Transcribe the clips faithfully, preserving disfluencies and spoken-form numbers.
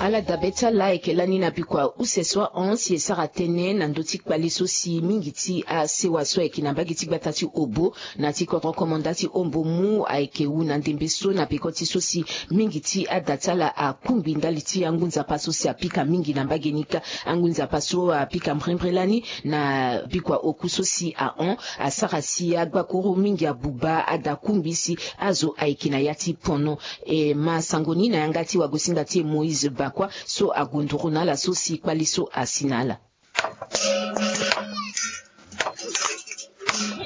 Ala dabe ti ala ayeke lani na bikua use so ahon si e sara tënë na ndö ti kpale so si mingi ti asewa so ayeke na mbage ti gbata ti Obo na ti kodro komanda ti Ombo mu ayeke wu na ndembe so na peko ti so si mingi ti ada ti ala akungbi ndali ti angu nzapa so si apika mingi na mbage ni kâ. Angu nzapa so apika mbrimbri lani na bikua oku so si ahon asara si agbakuru mingi abuba ada kungbi si azo ayeke na ya ti pono. E ma sango ni na yanga ti wagosinga ti e Moïse Bakua so ague nduru na ala so si kpale so asi na ala.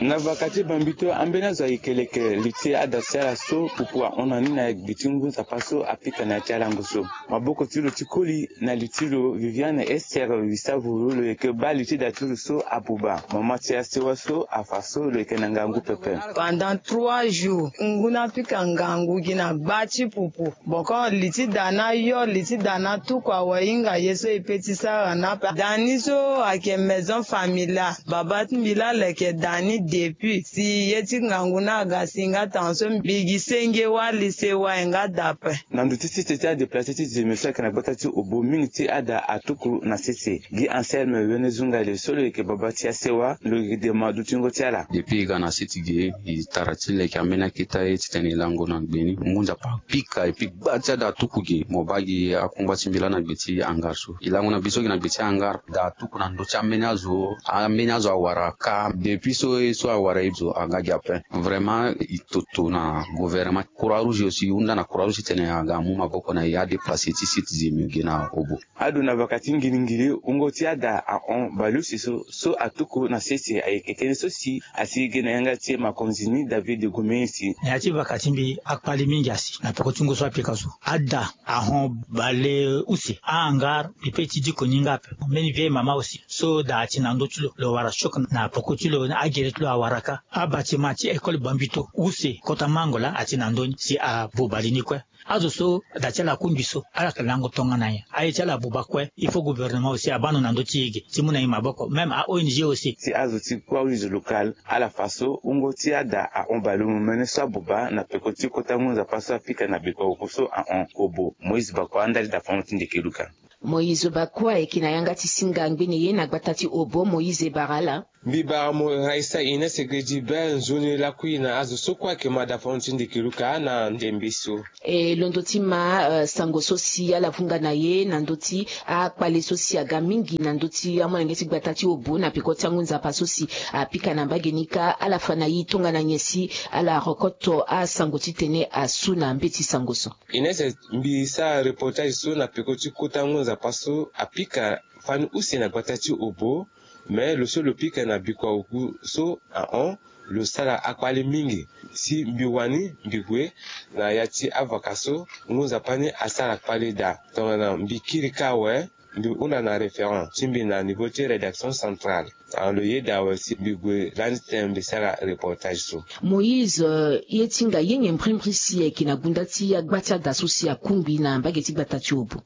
Na vaka ti Bambito, ambeni azo ayeke leke li ti ada ti ala so pupu ahon na ni na gbe ti ngu nzapa so apika na ya ti alango so. Maboko ti lo ti koli na li ti lo Viviane Esther Wisavuru lo yeke baa li ti da ti lo so abuba. Mama ti asewa so afa so lo yeke na ngangu pepe. Pendant trois jours ngu ni apika ngangu gi na gba ti pupu. Boko li ti da ni ayo, li ti da ni atuku awe hinga ye so e pe ti sara ni ape. Da ni so ayeke maison familiale. Baba ti mbi laa lo yeke da ni depuis si ye ti ngangu ni aga si nga tongaso mbi gi senge wali sewa e nga da ape. Na ndo ti sese ti adéplacé ti Zeme so ayeke na gbata ti Obo, mingi ti ada atuku na sese. Gi Anselme Wene Zungale so lo yeke baba ti asewa lo yeke dema dutingo ti ala. Depuis e ga na sese ge e tara ti leke ambeni aketa ye titene e lango na gbe ni. Ngu nzapa apika et puis gba ti ada atuku ge. Mo baa gi akungba ti mbi laa na gbe ti hangar so. E lango na biso gi na gbe ti hangar. Da atuku na ndö ti ambeni azo. Ambeni azo awara kâ. Depuis so ye so awara ye zo aga gi ape. Vraiment e toto na gouvernement. Croix Rouge aussi, e hunda na Croix Rouge titene aga amu maboko na e adéplacé ti site Zeme ge na Obo. Ado na vaka ti ngilingili, wungo ti ada ahon baleuse so, so atuku na sese ayeke tënë so si asi ge na yanga ti e makonzi ni David Gomesi. Na ya ti vaka ti mbi akpale mingi asi na peko ti ngu so apika so. Ada ahon baleuse, ahangar mbi pe ti diko ni nga ape. Mbeni vieille mama aussi so da ati na ndö ti lo, lo wara choc na peko ti lo, agere ti lo awara kâ. Abâtiment ti école Bambito use kota mango laa ati na ndö ni si abuba li ni kue. Azo so da ti ala akungbi so ala yeke lango tongana nyen? Aye ti ala abuba kue. Il faut gouvernement aussi abaa ndo na ndö ti e ge ti mu na e maboko, même a O N G aussi. Si azo ti Croix Rouge locale ala fa so wungo ti ada ahon baleomene so abuba na peko ti kota ngu nzapa so apika na bikua oku so ahon. Obo, Moïse Bakua, ndali dafango ti ndeke luka. Moïse Bakua ayeke na yanga ti singa ngbene ye na gbata ti Obo, Moïse e bara ala. Mbi bara mo Raissa Ines Gredibert, nzoni lakui na azo so kue ayeke ma dafango ti ndeke luka na ndembe so. E londo ti ma, eh, sango so si ala vunga na ye na ndö ti akpale so si aga mingi na ndö ti amolenge ti gbata ti Obo na peko ti angu nzapa so si apika na mbage ni kâ, ala fa na e tongana nyen si ala rokoto asango titene asu na mbeti sango so. Ines, mbi sara reportage so na peko ti kota ngu nzapa so apika fani use na gbata ti Obo. Me lo so lo pika na bikua oku so ahon, lo sara akpale mingi. Si mbi wani mbi gue na ya ti avaka so, ngu nzapa ni asara kpale daa. Tongana mbi kiri kâ awe, mbi hunda na référent ti mbi na niveau ti rédaction centrale. Tongana lo yeda awe si mbi gue lani titene mbi sara reportage so. Moïse, eh, ye ti hinga ye nyen mbrimbri si ayeke na gunda ti agba ti ada so si akungbi na mbage ti gbata ti Obo?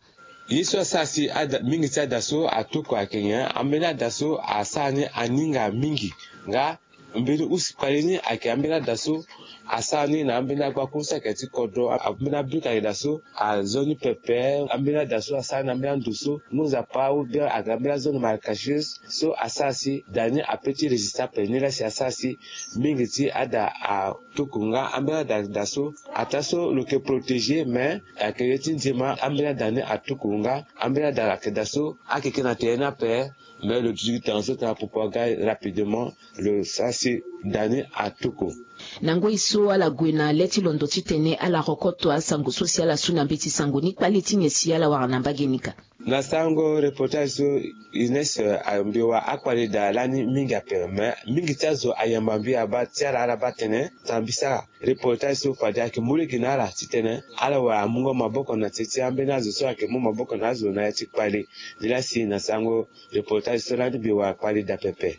Ye so asara si ada, mingi ti ada so atuku ayeke nyen? Ambeni ada so asara ni aninga mingi. Nga mbeni use kpale ni ayeke ambeni ada so asara ni na ambeni agbakuru so ayeke ti kodro. Ambeni abruk ayeke daa so azo ni pepe. Ambeni ada so asara ni na ambeni ando so ngu nzapa ou bien ayeke na ambeni azo ni marécageuse so asara si da ni ape ti résister ape. Ni laa si asara si mingi ti ada a tuku nga ambeni ada daa so ataa so lo yeke protéger, mais ayeke ye ti nzema ambeni ada ni atuku nga. Ambeni ada ayeke daa so akeke na tere ni ape, mais lo duti gi tanga so tongana popo aga rapidement lo sara si da ni atuku. Na ngoi so ala gue na le ti londo titene ala rokoto asango so si ala su na mbeti sango ni, kpale ti nyen si ala wara na mbage ni kâ? Na sango reportage so, Ines, eh, mbi wara akpale daa lani mingi ape, mais mingi ti azo ayamba mbi abaa ti ala, ala baa tene tara mbi sara reportage so fade ayeke mu lege na ala titene ala wara amungo maboko na ti, ti ambeni azo so ayeke mu maboko na azo na ya ti kpale. Ni laa si na sango reportage so lani mbi wara kpale daa pepe.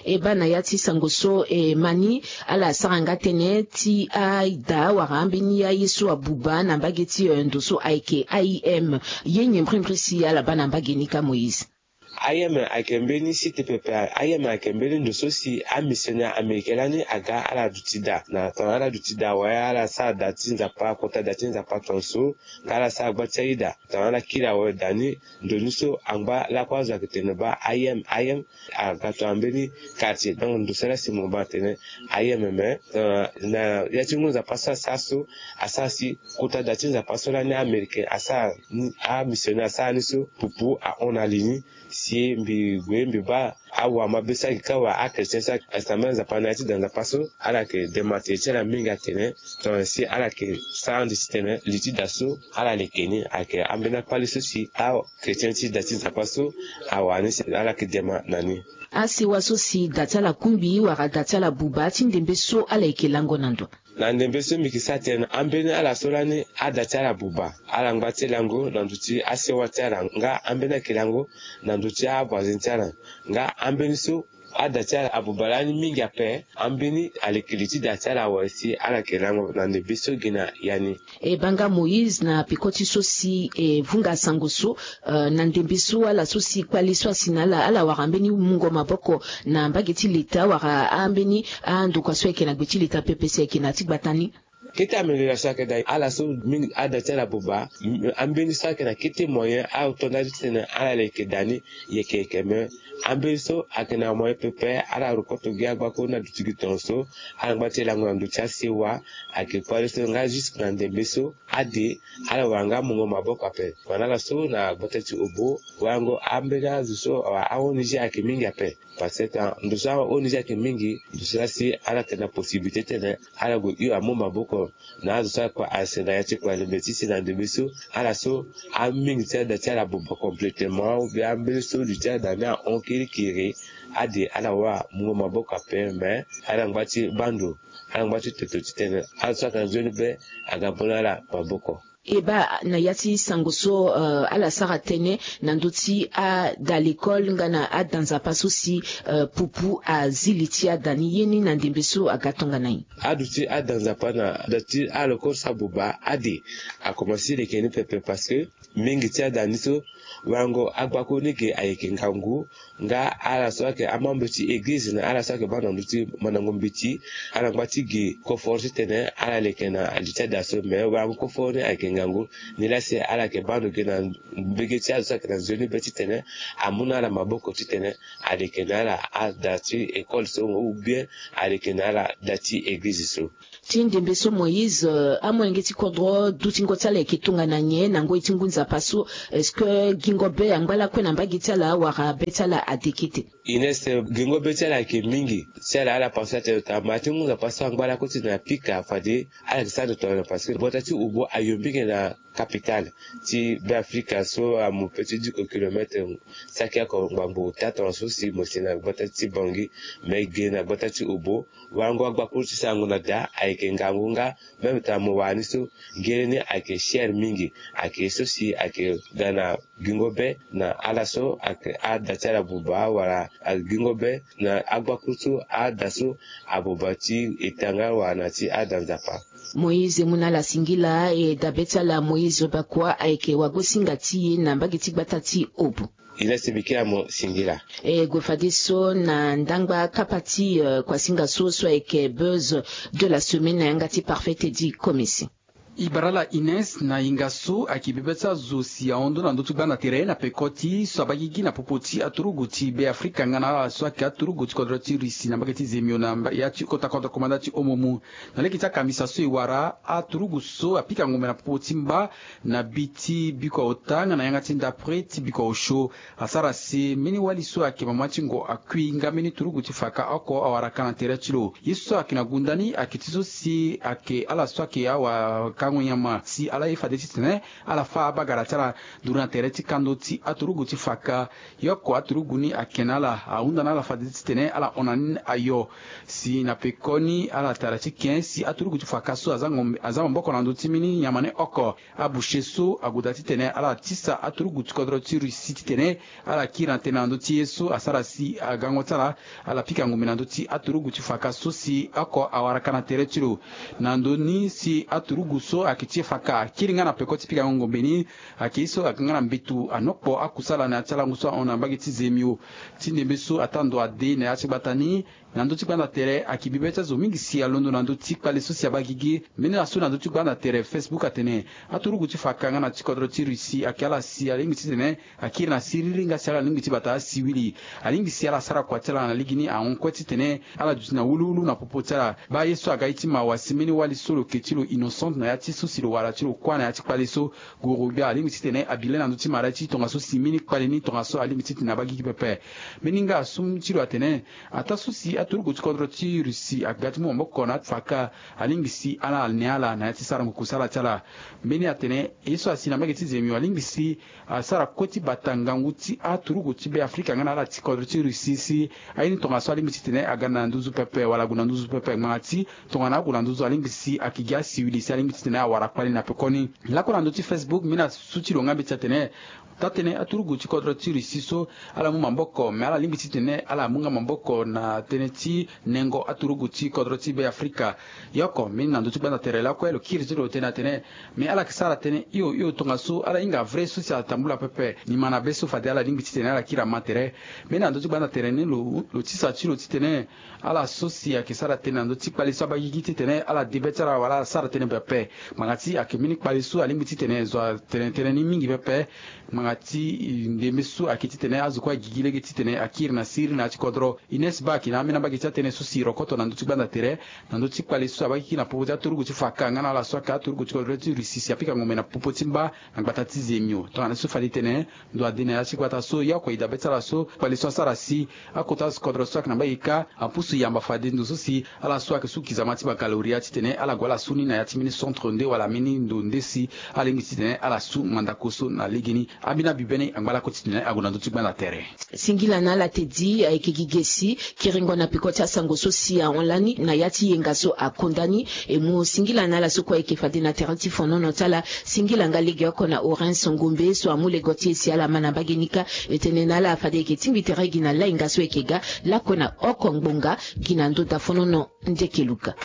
E baa na ya ti sango so, e ma ni ala sara nga tënë ti ada wala ambeni aye so abuba na mbage ti, eh, ndo so ayeke A I M. Ye nyen mbrimbri si ala baa na mbage ni kâ, Moïse? Ayeme ayeke mbeni site pepe. Ayeme ayeke mbeni ndo so si amissionnaire américain lani aga ala duti daa na tongana ala duti daa, wala ala sara daa ti Nzapa, kota daa ti Nzapa tongaso, nga ala sara gba ti aye daa tongana ala kiri awe daa ni. Ndo ni so angba lakue azo ayeke tene baa ayeme, ayeme aga tongana mbeni quartier. Donc ndo so la si mo baa atene ayeme me, euh, na ya ti ngu Nzapa so asara so, asara si kota daa ti Nzapa so lani américain asara ni, amissionnaire asara ni so, pupu ahon na li ni. Si mbi gue mbi baa awamabe so ayeke ka wala achrétien so ayeke, asi na mbeni Nzapa na ya ti da Nzapa so, ala yeke dema tere ti ala mingi atene tongana si ala yeke sara ande titene li ti da so ala leke ni. Ayeke ambeni akpale so si achrétien ti da ti Nzapa so awara ni si ala yeke dema na ni. Asewa so si da ti ala kungbi wala da ti ala buba ti ndembe so ala yeke lango na ndo. Na ndembe so mbi yeke sara tene ambeni ala so lani ada ti ala buba, ala ngba ti lango na ndo ti asewa ti ala, nga ambeni ayeke lango na ndo ti avoisin ti ala. Nga ambeni so ada ti ala abuba lani mingi ape, ambeni aleke li ti da ti ala awe si ala yeke lango na ndembe so gi na ya ni. E baa nga Moïse, na peko ti so si e vunga sango so, euh, na ndembe so ala so si kpale so asi na ala, ala wara mbeni mungo maboko na mbage ti leta wala ambeni andokua so ayeke na gbe ti leta pepe si ayeke na ya ti gbata ni? Kete amélioration ayeke daa. Ala so mingi ada ti ala buba, m-, ambeni so ayeke na kete moyen ato ndali titene ala leke daa ni, yeke yeke me. Ambeni so ayeke na moyen pepe, ala rokoto gi agbako na duti gi tongaso, ala ngba ti lango na ndo ti asewa. Ayeke kpale so nga jusque na ndembe so ade ala wara nga mungo maboko ape. Wala na ala so na gbata ti Obo, warango ambeni azo so awa a-O N G ayeke mingi ape. Parce que ndo so a-O N G ayeke mingi, ndo so la si ala yeke na possibilité titene ala gue hio amu maboko na azo so ayeke kua asi na ya ti kua lembe ti si na ndembe so. Ala so amingi ti ada ti ala buba complètement, ou bien ambeni so li ti ada ni ahon kirikiri, ade ala wara mungo maboko ape, mais ala ngba ti baa ndo, ala ngba ti toto titene azo so ayeke na nzoni be aga mu na ala maboko. E baa na ya ti sango so, euh, ala sara tënë na ndö ti ada lekole nga na ada nzapa so si, euh, pupu azi li ti ada ni, ye ni na ndembe so aga tongana nyen? Aduti ada nzapa na da ti alekole so abuba ade akomanse ti leke ni pepe parce que mingi ti ada ni so, wango agbako ni ge ayeke ngangu, nga ala so ayeke amembre ti eglize na ala so ayeke baa na ndö ti mandango mbeti, ala ngba ti ge koforo titene ala leke na li ti ada so. Me wango koforo ni ayeke ngangu, nilaa si ala yeke baa ndo ge na mbege ti azo so ayeke na nzoni be titene amu na ala maboko titene aleke na ala ada ti ekole so ou bien aleke na ala da ti eglize so. Ti ndembe so Moïse, euh, amolenge ti kodro dutingo ti ala ayeke tongana nyen na ngoi ti ngu nzapa so? Est-ce que gingo be angba lakue na mbage ti ala wala be ti ala ade kete? Ines, gingo be ti ala ayeke mingi. Ti ala ala pense atene tongana ma ti ngu nzapa so angba lakue ti na pika fade ala yeke sara ndo tongana nyen parce que gbata ti Obo ayo mingi na capitale ti Beafrika so amu pe ti dix kilomètre, saki oko ngbangbo ota tongana so si mo si na gbata ti Bangui, me ge na gbata ti Obo. Wango agbakuru ti sarango na da ayeke ngangu nga, même tongana mo wara ni so, ngere ni ayeke cher mingi. Ayeke ye so si ayeke ga na gingo be na ala so ayeke ada ti ala buba wala gingo be na agbakuru so ada so abuba ti eta nga wala na ti ada nzapa. Moïse, e mu na ala singila, e dabe ti ala Moïse Bakua ayeke wagosinga ti e na mbage ti gbata ti Obo. Ina si mbi kiri na mo singila. E gue fadeso na ndangba kapa ti, euh, kuasinga so so ayeke buzz de la semaine na yanga ti Parfait Teddy Komisi. E bara ala Ines, na hinga so ayeke bebe ti azo si ahon ndö na ndö ti gbanda tere na peko ti so abaa gigi na popo ti aturugu ti Beafrika nga na ala so ayeke aturugu ti kodro ti Russie na mbage ti Zemio na mba-, ya ti kota kodro komanda ti Omomu. Na lege ti akambisa so e wara, aturugu so apika ngombe na popo ti mba na bi ti bikua ota nga na yanga ti ndapre ti bikua osio. Asara si mbeni wali so ayeke mama ti ngo akui nga mbeni turugu ti faka oko awara ka na tere ti lo. Ye so ayeke na gunda ni ayeke ti so si ayeke ala so ayeke awakango nyama si ala ye fade titene ala fâ abagara ti ala nduru na tere ti kando ti aturugu ti faka. Ye oko aturugu ni ayeke na ala ahunda na ala fade titene ala hon na ni ayo. Si na pekoni ala tara ti ken si aturugu ti faka so aza ngombe, aza maboko na ndö ti mbeni nyama ni oko. Aboucher so ague daa titene ala tisa aturugu ti kodro ti Russie titene ala kiri na tënë na ndö ti ye so asara si agango ti ala, ala pika ngombe na ndö ti aturugu ti faka so si oko awara ka na tere ti lo. Na ndö ni si aturugu so so ayeke ti e fa ka akiri nga na peko ti pikango ngombe ni. Ayeke ye so aga nga na mbetu anokpo akusala na ya ti alango so ahon na mbage ti zemio. Ti ndembe so ataa ndo ade na ya ti gbata ni, na ndö ti gbanda tere ayeke bibe ti azo mingi si alondo na ndö ti kpale so si abaa gigi. Mbeni laso na ndö ti gbanda tere Facebook atene aturugu ti fa ka nga na ti kodro ti Russie ayeke ala si alingbi titene akiri na siriri nga si ala lingbi ti bata asiwili. Alingbi si ala sara kua ti ala na lege ni ahon kue titene ala duti na wuluwulu na popo ti ala. Baa ye so aga ye ti mawa si mbeni wali so lo ke ti lo Innocente na ya ti so si lo wara ti lo kuâ na ya ti kpale so, goro gbia alingbi titene abi le na ndö ti mara ti tongaso si mbeni kpale ni tongaso alingbi titene abaa gigi pepe. Mbeni nga asu ti lo atene ataa so si aturugu ti kodro ti Russie aga ti mu maboko na afa ka, alingbi si ala ne ala na ya ti sarango kusala ti ala. Mbeni atene ye so asi na mbage ti zemio alingbi si asara kue ti bata ngangu ti aturugu ti Be Afrika nga na ala ti kodro ti Russie si aye ni tongaso alingbi titene aga na nduzu pepe wala ague na nduzu pepe ngbanga ti tongana ague na nduzu alingbi si ayeke gi asiwili si alingbi titene awara kpale na pekoni. Lakue na ndö ti Facebook mbeni asu ti lo nga mbeti atene taa tënë aturugu ti kodro ti Russie so ala mu maboko me ala lingbi titene ala mu nga maboko na tënë ti nengo aturugu ti kodro ti Be Afrika. Ye oko mbeni na ndö ti gbanda tere lakue lo kiri ti lo tënë atene me ala yeke sara tënë hio hio tongaso ala hinga vrai so si atambula pepe. Nima na be so fade ala lingbi titene ala kiri ama tere. Mbeni na ndö ti gbanda tere ni lo lo tisa ti lo titene ala so si ayeke sara tënë na ndö ti kpale so abaa gigi titene ala de be ti ala wala ala sara tënë pepe. Ngbanga ti ayeke mbeni kpale so alingbi titene zo atene tënë ni mingi pepe. Ngbanga ti ndembe so ayeke titene azo kue agigi lege titene akiri na siriri na ya ti kodro. Ines Bak na ambeni ambage ti atënë so si rokoto na ndö ti gbanda tere na ndö ti kpale so abaa gigi na popo ti aturugu ti fa ka nga na ala so ayeke aturugu ti kodro ti Russie si apika ngombe na popo ti mba na gbata ti zemio tongana so fade tene ndo ade na ya ti gbata so ye oko e dabe ti ala so kpale so asara si akota kodro so ayeke na mbage kâ apusu yamba fade ndo so si ala so ayeke su kizama ti bakaloria titene ala gue ala su ni na ya ti mbeni centre nde wala mbeni ndo nde si ala lingbi titene ala su mandako so na legeni. Ambeni abi bene angba lako titene ague na ndö ti gbanda tere. Singila na ala tedi ayeke gi ge si kiringo na peko ti asango so si ahon lani na ya ti yenga so akonda ni. E mu singila na ala so kue ayeke fade na tere ti fonono ti ala. Singila nga legeoko na Orens Ngombe so amu lego ti e si ala ma na mbage ni kâ. E tene na ala fade e yeke tingbi tere gi na lainga so e yeke ga lakue na oko ngbonga gi na ndö dafonono. Ndeke luka.